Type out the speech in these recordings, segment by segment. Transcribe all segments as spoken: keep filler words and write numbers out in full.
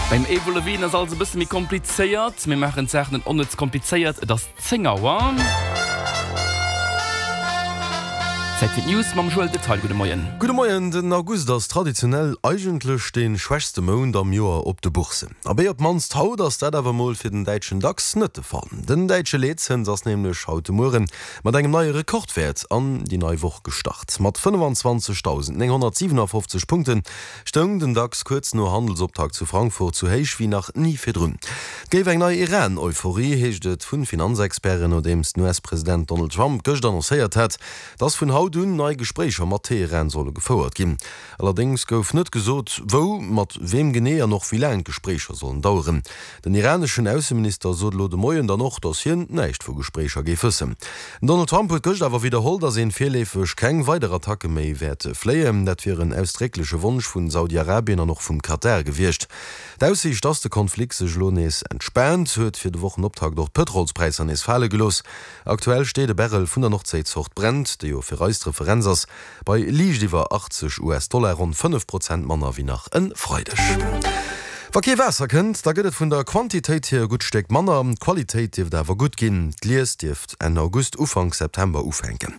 Beim Avril Lavigne ass alles e bësse méi komplizéiert. Mir maachen d'Saach net onnëtz komplizéiert. Et ass zéng Auer. Zäit fir d'News mam Joël Detaille. Gudde Moien. Gudde Moien. Den August ass traditionell eigentlech dee schwächste Mount am Joer op de Bourssen. Abee, op d'mannst haut ass dat awer mol fir den däitschen DAX net de Fall. Den däitsche Leetzëns ass nämlech haut de Mueren mat engem neie Rekordwäert an déi nei Woch gestart. Mat fënnefenzwanzegdausendnénghonnertsiwenafofzeg Punkte stoung den DAX kuerz no Handelsoptakt zu Frankfurt sou héich wéi nach ni virdrun. Et géif eng nei Iran-Euphorie, heescht et vu Finanzexperten, nodeems den U S-President Donald Trump gëscht annoncéiert hat, dass vun haut un nei Gespréicher mat Teheran solle gefouert ginn. Allerdéngs gouf net gesot, wou, mat weem genee an och wéi laang d'Gespréicher sollen daueren. Den iraneschen Ausseminister sot elo de Moien dann och, dass hien näischt vu Gespréicher géif wëssen. Den Donald Trump huet gëscht awer widderholl, dass een virleefeg keng weider Attacke méi wäert fléien. Dat wier en ausdréckleche Wonsch vun Saudi-Arabien an och vum Katar gewiescht. D'Aussiicht, dass de Konflikt sech elo nees entspaant, huet fir de Wochenoptakt och d'Pëtrolspräisser nees fale gelooss. Aktuell steet e Barrel vun der Nordséizort Brent, déi jo fir eis d'Referenz ass, bei liicht iwwer achtzeg U S-Dollar, ronn fënnef Prozent manner wéi nach e Freideg. Wa kee Waasser kënnt, da gëtt et vun der Quantitéit hier e gutt Stéck manner, d'Qualitéit dierft awer gutt ginn. D'Lies dierft Enn August, Ufank September ufänken.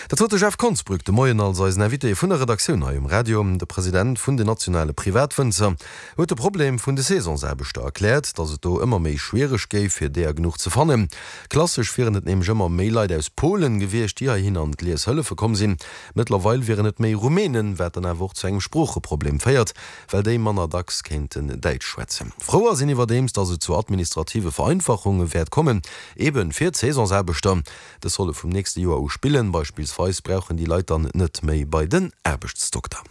Dat sot de Jeff Konsbrück de Moien als eisen Invité vun der Redaktioun hei um Radio. De President vun den nationale Privatwënzer huet de Problem vun de Saisonsaarbechter erkläert, datt et do ëmmer méi schwiereg géif, fir deeër genuch ze fannen. Klassesch wieren et nämlech ëmmer méi Leit aus Polen gewiescht, déi heihin an d'Lies hëllefe komm sinn. Mëttlerweil wieren et méi Rumänen, wat dann awer och zu engem Sproocheproblem féiert, well déi manner dacks kéinten Däitsch schwätzen. Frou ass een iwwerdeems, datt et zu administrative Vereinfachunge wäert kommen, eben fir d'Saisonsaarbechter. Dës solle vum nächste Joer u spillen. Beispillsweis brauchen déi Leit dann net méi bei den Aarbechtsdokter.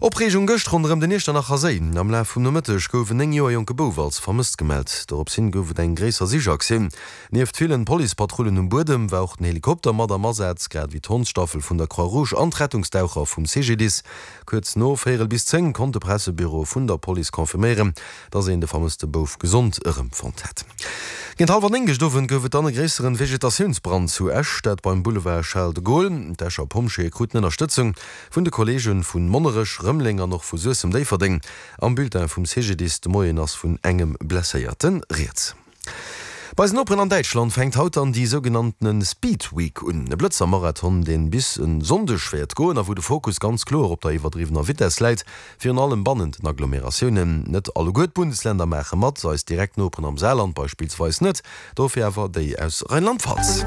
Opreegung gëscht ronderëm den Iechternacher Séi. Am Laf vum Nomëtteg gouf en néng Joer jonke Bouf als vermësst gemellt. Dorops hin gouf et eng gréisser Sichaktioun. Nieft villen Policepatrullen um Buedem war och den Helikopter mat am Asaz, grad ewéi d'Hondsstaffel vun der Croix-Rouge an d'Rettungsdaucher vum C G D I S. Kuerz no véierel bis zéng konnt de Pressebüro vun der Police confirméieren, dass een de vermësste Bouf gesond erëmfonnt hätt. Géint hallwer néng gëscht Owend gouf et dann e gréisseren Vegetatiounsbrand zu Esch, dat beim Boulevard Charles de Gaulle. D'Escher Pompjeeë kruten Ënnerstëtzung vun de Kolleege vu Monnerech, Rëmeleng an och vu Suessem-Déifferdeng. Am Bulletin vum C G D I S de Moien ass vun engem Blesséierte rieds. Bei eisen Noperen an Däitschland fänkt haut dann déi sougenannten Speed Week un, e Blëtzer-Marathon, deen bis en Sonndeg wäert goen a wou de Fokus ganz kloer op der iwwerdriwwener Vitess läit, virun allem bannent den Agglomeratiounen. Net alleguer d'Bundesländer maache mat, eis direkt Noperen am Saarland beispillsweis net, dofir awer déi aus Rheinland-Pfalz.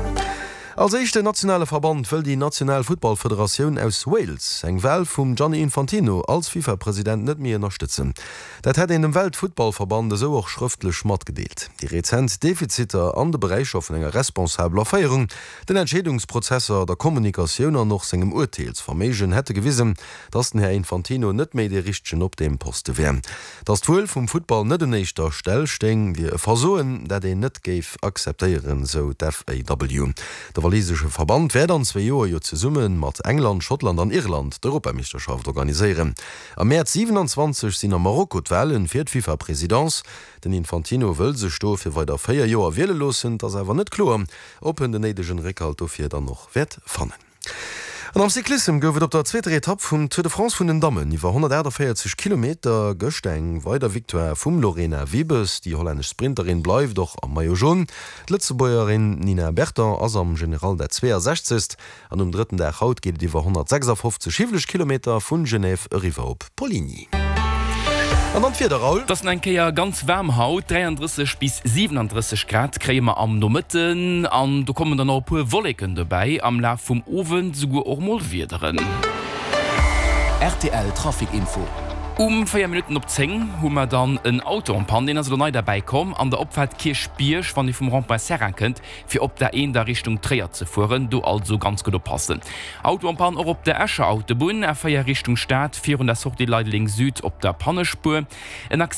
Als éischten nationale Verband wëll déi national Futtballfederatioun aus Wales eng Wal vum Gianni Infantino als FIFA-President net méi ënnerstëtzen. Dat hätt een dem Weltfuttballverband esou och schrëftlech matgedeelt. Déi rezent Defiziter an de Beräicher vun enger responsabeler Féierung, den Entscheedungsprozesser, der Kommunikatioun an och sengem Urteelsverméigen hätte gewisen, datt den Här Infantino net méi dee Richtegen op deem Poste wär. Datt d'Wuel vum Futtball net un éischter Stell stéing, wier e Versoen, dat een net géif akzeptéieren, sou d'F A W. De walisesche Verband wäert an zwee Joer jo zesumme mat England, Schottland an Irland d'Europameeschterschaft organiséieren. Am Mäerz siewenanzwanzeg sinn a Marokko d'Wale fir d'FIFA-Presidence. Den Infantino wëll sech do fir weider véier Joer wiele loossen, et ass awer net kloer, ob en den néidegen Réckhalt dofir dann och wäert fannen. An am Cyclissem gouf et op der zweeter Etapp vum Tour de France vun den Dammen iwwer honnertaachtavéierzeg Kilometer gëscht eng weider Victoire vum Lorena Wiebes. Déi hollännesch Sprinterin bleift och am Maillot Jaune. D'Lëtzebuergerin Nina Berton ass am General dat zweeasechzegst. An um drëtten Dag haut geet et iwwer honnertsechsafofzeg hiwweleg Kilometer vun Genève eriwwer op Poligny. An dann d'Wieder, Raoul. Et ass nach eng Kéier ganz waarm haut, dräiandrësseg bis siwenandrësseg Grad kréie mer am Nomëtten an do kommen dann och e puer Wolleken dobäi, am Laf vum Owend souguer och mol Wiederen. R T L Trafic Info. Um véier Minutten op zéng hu mer dann en Auto en panne, deen ass elo nei derbäi komm an der Opfaart Kierchbierg, wann ee vum Rond-point Seraing kënnt, fir op der A eent a Richtung Tréier ze fueren. Do also ganz gutt oppassen. Auto en panne och op der Escher Autobunn, A véier Richtung Stad, virun der Sortie Leideleng Süd op der Pannespuer. En Accident.